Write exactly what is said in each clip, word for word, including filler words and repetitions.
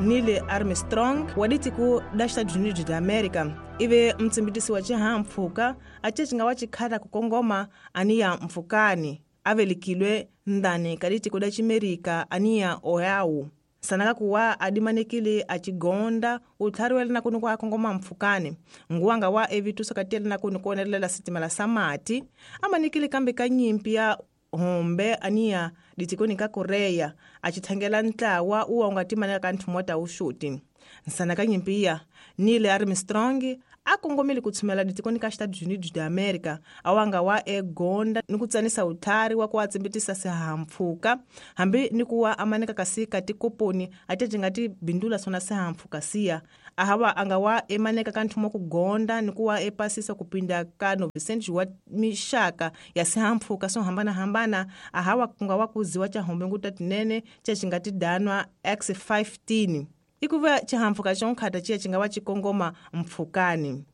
Neil Armstrong wa ditiko da Estados Unidos da América ive mtsimbitisi wa xihahampfhuka a ce nga wa xikhata ku kongoma aniya mpfhukani a velekilwe ndani ka ditiko da Ximerika aniya Ohio sanaka kuwa adimanekile a xigonda u tlhariwele na kuni ku a kongoma mpfhukani nguwanga wa evituso ka tiyele na kuni ku onelela sitimela sa mati a manekile kambe ka nyimpi ya hombe aniya ditikoni ka Korea a xithangela ntlawa uwa u nga timaneka ka nthumo ta wuxuti nsana ka nyimpi ya Neil Armstrong a kongomile ku tshumela ditikoni ka Estados Unidos da América awanga wa egonda ni ku tsanisa utlhari wa ku a tsimbitisa sihahampfhuka hambi ni ku wa amaneka kasi ka tikoponi a ti nga ti bindula swona sihahampfhuka siya ahava anga wa emaneka ka nthumo ku gonda ni ku wa epasisa ku pinda ka novecentos wa mixaka ya sihahampfhuka swo hambanahambana ahawa ku nga wa kuziwa ca hombe nguta tinene ca xi nga ti danwa X fifteen ikuva xihahampfhuka xo nkhata ciya xi nga va xi kongoma mpfhukani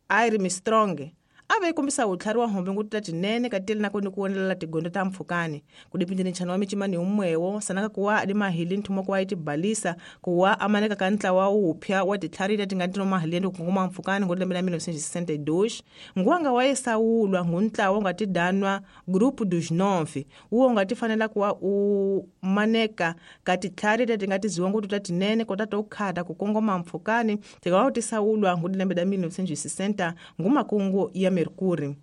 Armstrong a ve kombisa utlhari wa hombe nguta tinene ka tele na ku ni ku wonelela tigondo ta mpfhukani ku dipindini nchano wa micimani umwewo sanaka kuwa adi mahili nthumo ku wa itibalisa kuwa amaneka ka ntlawa wupya wa titlhari leti nga tino mahili ku kongoma mpfhukani ngo lembe la mil novecentos e sessenta e dois nguwanga wa esawulwa ngu ntlawa u nga ti danwa Grupo dos Nove uwo nga ti fanela kuwa u maneka ka titlhari leti nga tiziwa ngutu ta tinene kota to khata ku kongoma mpfhukani tika wa ti sawulwa ngu lembe la mil novecentos e sessenta ngumakungu ya Mercury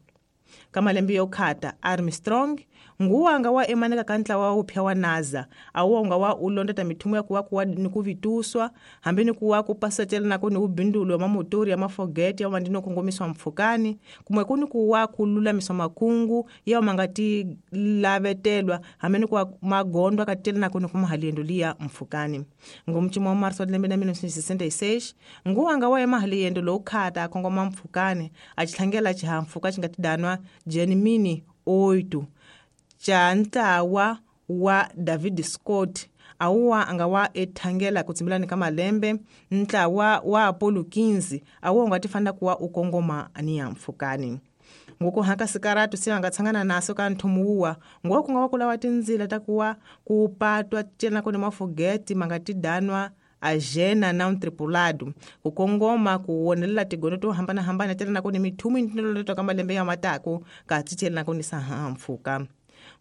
ka malembe yo khata Armstrong nguwanga wa emaneka ka ntlawa wupya wa NASA awonga wa ulondeta mithumo ya kuwa kuwa ni ku vituswa hambi ni kuwa ku pasatela na ku ni ubindulo wa mamotori ya mafogeti ya mandino kongomiswa mpfhukani kumwe ku ni kuwa ku lulamiswa makungu ya ma nga ti lavetelwa hambi ni kuwa magondo ka tela na ku ni ku mahaliendo liya mpfhukani ngomchimo wa marso wa lembe la mil novecentos e sessenta e seis nguwanga wa emahaliendo lowu khata a kongoma mpfhukani a xitlhangela xihahampfhuka xi nga ti danwa Gemini oito ca ntlawa wa David Scott awuwa anga wa ethangela ku tsimbilani ka malembe ntlawa wa Apollo quinze awuwa u nga ti fanela kuwa u kongoma aniya mpfhukani ngoko haka sikaratu se nga tshangana naso ka nthumo wuwa nguwa ku nga wa ku lava tindzila ta kuwa ku patwa cela ku ni mafogeti ma nga ti danwa agena não tripulado ku kongoma ku wonelela tigondo to hambanahambana tela na ku ni mithumo intinoloto ka malembe ya matako ka titela na ku ni sahampfhuka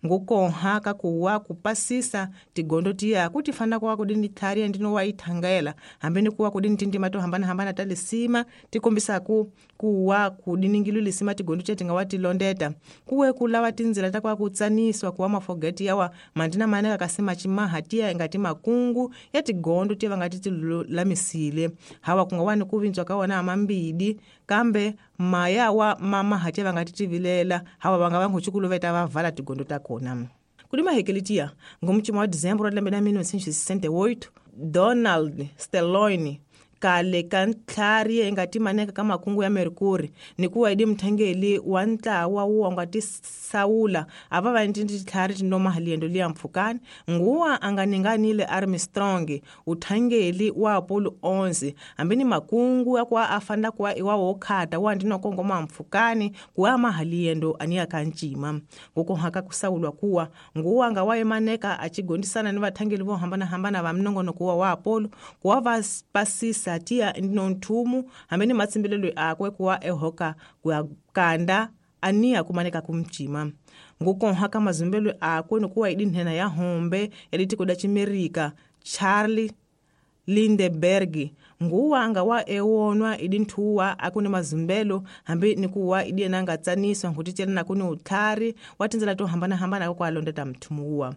ngukonha ka kuwa ku pasisa tigondo tiya ku ti fana kuwa ku dini tlhari ya ndino wa ithangela hambi ni kuwa ku dini tindima to hambanahambana ta lisima ti kombisaku kuwa ku diningilu lisima tigondo tiya ti nga wa ti londeta kuwe ku lava tindzila ta kuwa ku tsaniswa kuwa mafogeti yawa mandina maneka kasi macimaha tiya nga ti makungu ya tigondo tiya va nga ti ti lulamisile hawa ku nga wa ni ku vintswa ka wona mambidi kambe maya wa mamaha tiya va nga ti tivilela hawa va nga va nkucukuluveta va vala tigondo ta kona kudima hekelitia ngomchimo wa dezembro wa lembe la mil novecentos e sessenta e oito Donald Stellone kale ka ntlhari yi nga ti maneka ka makungu ya Mercury ni kuwa idi mthangeli wa ntlawa wu nga ti sawula a va va ni titlhari tinoma haliendo liya mpfhukani nguwa a nga ninganile Armstrong uthangeli wa Apollo onze hambi ni makungu ya kuwa a fanela kuwa iwa wo khata wa ndino kongoma mpfhukani kuwa mahaliendo aniya ka ncima ngoko haka kusawulwa kuwa nguwa nga wa emaneka a xigondisana ni vathangeli vo hambanahambana va minongonoko wa wa Apollo kuwa va pasisa tia ndino nthumu hambi ni matsimbilelo akwe kuwa ehoka kuya kanda aniya kumaneka kumcima ngukonha ka mazumbelo akwe nikuwa idinhena ya hombe ya litiko da Chimerika Charlie Lindbergh nguwa nga wa ewonwa idinthuwa akuni mazumbelo hambi nikuwa idiena nga tsaniswa ngutitela na kuni utlhari wa tindzela to hambanahambana kwa londeta mthumuwa